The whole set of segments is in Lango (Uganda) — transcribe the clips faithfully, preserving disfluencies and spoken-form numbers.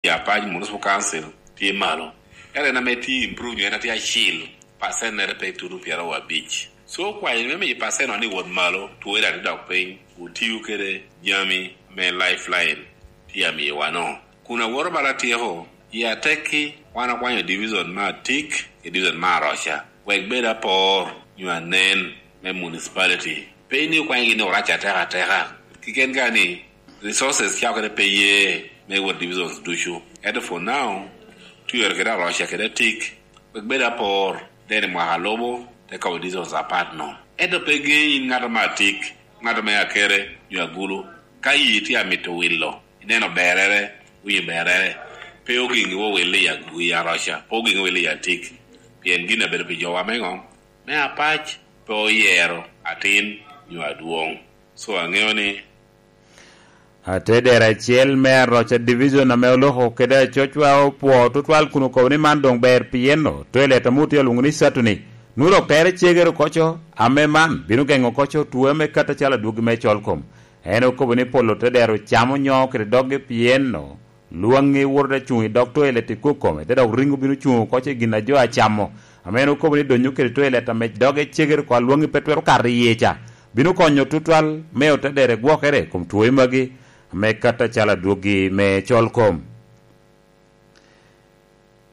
i Apac Municipal Council tye malo. Ento en ame tye improve nyo en atye acil, pacennere pe tuno pyeraryo abic. So, kwanyo me miyo pacent ni wot malo, two daŋ tye dok piny, otio kede jami me lifeline tye amiyo wano. Kun awoto bala atyeko, i atekki, wan okwanyo division me Atik, ki division me Aroca, wek bed apor nyo anen me municipality. Pe ni okwanyo gin ni orac ateka ateka. Kiken ka ni, resources ca okene pe ye me wot divisions ducu. Ento for now, twero kede Aroca kede Atik, wek bed apor, then i mwaka lubo, te kobo divisions apat no. Ento pe gen in ŋat me Atik, ŋat me Akere, nyo Agulu. Ka yi tye amito wilo, ineno berere, winyo berere, pe ogeŋi wo wille i Agu-, i Aroca, pe ogeŋi wille i Atik. Pien gin abedo pi jowa me ŋo? Me Apac pe oyero atin nyo adwoŋ. So aŋeo ni Atedero acel me Aroca Division ame oloko kede acocwa opwo tutwal kun okobo ni man doŋ ber pien toilet ame otye alwoŋo ni Saturday. Nwoŋo dok tere cegere oko co, ame man bino geŋo oko co two ame kato acalo adwogi me col kom. En okobo ni polo tedero camo nyo kede doggi pien lwaŋŋi woto te cuŋ i dog toilet i kok kome, te dok riŋo bino cuŋ oko co i gin a jo acamo. Ame en okobo ni donyo kede toilet ame doge cegere oko a lwaŋŋi pe twero kato iye ca, bino konyo tutwal me otedere gwokere i kom twoe magi, ame kato acalo adwogi me col kom.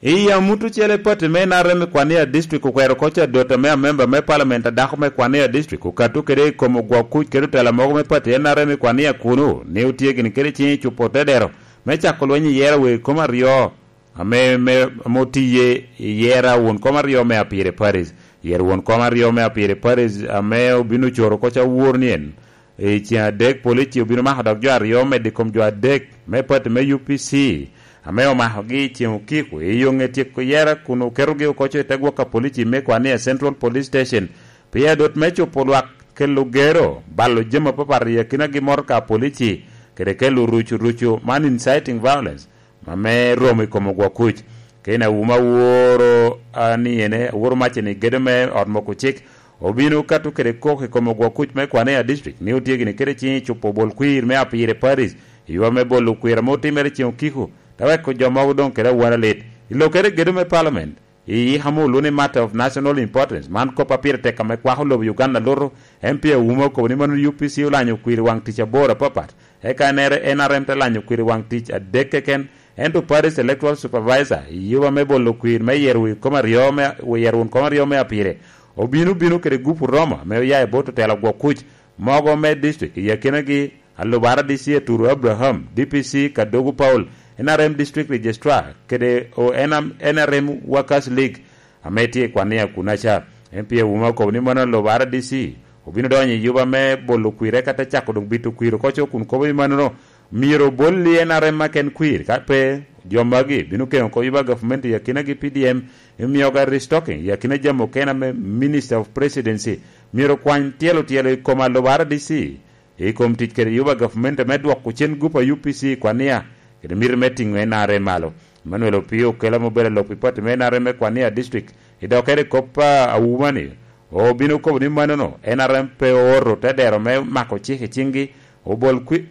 I amut ocele, pati me N R M i Kwania District okwero oko co adot ame amemba me Parliament a dako me Kwania District okato kede i kom ogwok kuc kede otela mogo me pati N R M i Kwania kunu, ni otye gini kede ciŋ i cupo otedero me cako lweny i yero wer kom aryo ame, me, ame otiye i yera won kom aryo me Apire Paris. Yero won kom aryo me Apire Paris ame obino coro oko ca wor ni en, i ceng adek, polici obino mako dok jo aryo medo i kom jo adek me pati me U P C ame omakogi i ceng okiko i yo ŋe tyeko yera kun oketogi oko co i te gwok a polici me Kwania Central Police Station. Pien adot me cupo lwak kelo gero, balo jami apapat i akinagi motoka a polici, kede kelo rucu rucu man inciting violence ame romo i kom ogwok kuc. Kene awuma aworo, a, ni ene, aworo macce ni gedo me ot moko cik obino kato kede kok i kom ogwok kuc me Kwania District ni otye gini kede ciŋ i cupo bol kwir me Apire Paris i yo me bolo kwir ame otimere ceŋ okiko, te weko jo mogo doŋ kede awara lit. I lokere gedo me Parliament, i yik ame olwoŋo ni matter of national importance, man kop a pire tek ame kwako lobo Uganda luto, M P Awuma okobo ni mano U P C olanyo kwir i waŋ tic aboro apapat, eka N R M te lanyo kwir i waŋ tic adek keken, ento Paris Electoral Supervisor i yuba me bolo kwir me yero wi kom aryo me, wi yero won kom aryo me Apire, obino bino kede gupu Roma ame oya i bot otelo gwok kuc mogo me district i akinagi Alubara D C Aturu Abraham, D P C Kadogo Paul, N R M District Registrar, kede o N R M Workers League ame tye i Kwania kunaca. M P Awuma okobo ni mano Alubara D C obino donyo i yuba me bolo kwire ka te cako doŋ bito kwir oko co kun kobo ni manono myero obol i N R M aken kwir, ka pe jo magi bino keŋo oko yuba gavumenti i akinagi P D M, i mioga restocking i akina jami okene ame Minister of Presidency myero okwany tyelo tyelo i kom Alubara D C i kom tic kede yuba gavumenti me dwoko cen gup a U P C i Kwania kede miti me tiŋo N R M malo. Emmanuel Opio Okela ma obedo alok pi pati me N R M me Kwania District i dokere i kop a Awuma ni obino kobo ni manono N R M pe ooto te dero me mako cik i ciŋgi, obol kwi-,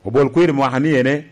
obol kwir mwaka ni ene,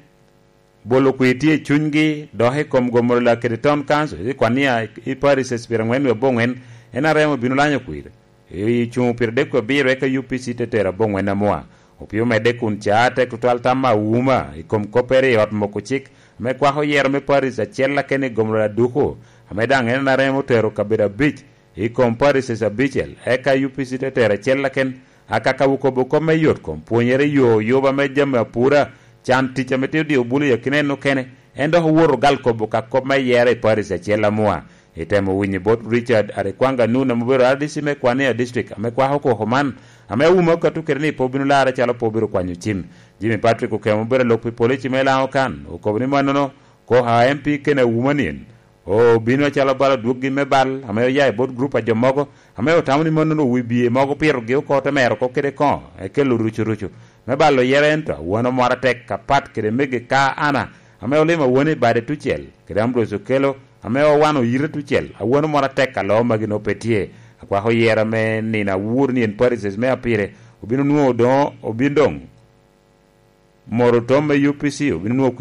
bolo kwir tye i cunygi, dok i kom gomoro lak kede Town Council i Kwania i Paris Espira ngwen wi abongwen, N R M obino lanyo kwir. I cuŋ pire dek abiro eka U P C te tero aboŋwen amua. Opio medde kun ca tek tutwal tam Awuma i kom koppere i ot moko cik ame kwako yero me Paris acel aken i gomro aduku, ame daŋ en aremo tero kabedo abic i kom Paris abicel, eka U P C te tero acel aken. Akaka okobo kop me yot kom pwonyere yo yuba me jami apura, can tic ame tye odio bulu i akina en okene, en dok owoto gal kobo ka kop me yero i Paris acel amua. Itemo winyo bot Richard Arekwanga Nun ame obedo R D C me Kwania District ame kwako koko man, ame Awuma okato kede ni pe obino larre calo pe obedo kwanyo cim. Jimmy Patrick Okemo obedo alok pi polici me Lango Kan, okobo ni mannono koko a M P kene Awuma nien obino acalo bal adwoggi me bal ame oya i bot grup a jo mogo ame otamo ni mannono wi biye mogo pitogi oko te mero oko kede koŋo ekelo rucu rucu me balo yere, ento awano moro atek apat kede mege ka Ana ame olimo awano i bade tucel kede Ambrose Okello ame owano yite tucel, awano moro atek alo magi nongo pe tye. Akwako yero me nino awur ni en Parises me Apire obino nwoŋo doŋ, obino doŋ Moro tom me U P C obino nwoŋo kwi